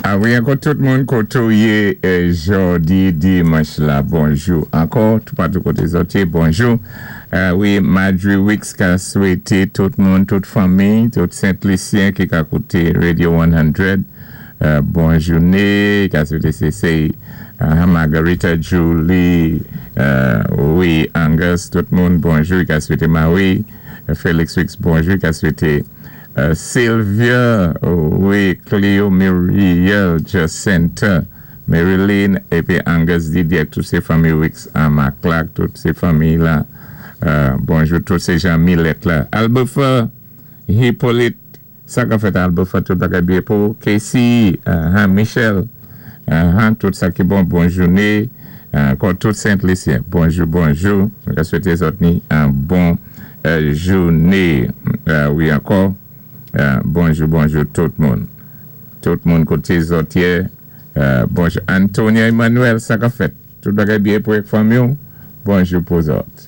A wi, ankò tout moun koté ou yé jòdi dimanch la, bonjou. Ankò, toupatou koté zòt yé, bonjou. Wi, Marjorie Wicks ka swété tout moun, tout fanmi, tout Sent Lisyen ki ka kouté Radio 100, bon jouné. Ka swété sé Margarita, Julie, wi, Angus, tout moun, bonjou. Ka swété Marie, Felix Wicks, bonjou. Ka swété Sylvia, wi, Cleo, Muriel, Jacinta, Marilyn, épi Angus Didier, tout sé fanmi Wicks, Mark Clark, tout sé fanmi la. Bonjou, tout sé Jean Millet la. Albufa, Hippolyte, sa ka fèt Albufa, tout bagay byen pou Casey, Michel, tout sa ki bon, bon jouné. Ankò tout Sent Lisyen, bonjou, bonjou. Mwen swété zòt ni an bon jouné. Wi, ankò, bonjou, bonjou tout moun. Tout moun koté zòt yé. Bonjou. Antonia Emmanuel, sa ka fèt? Tout bagay byen pou fanmi? Bonjou pou zòt.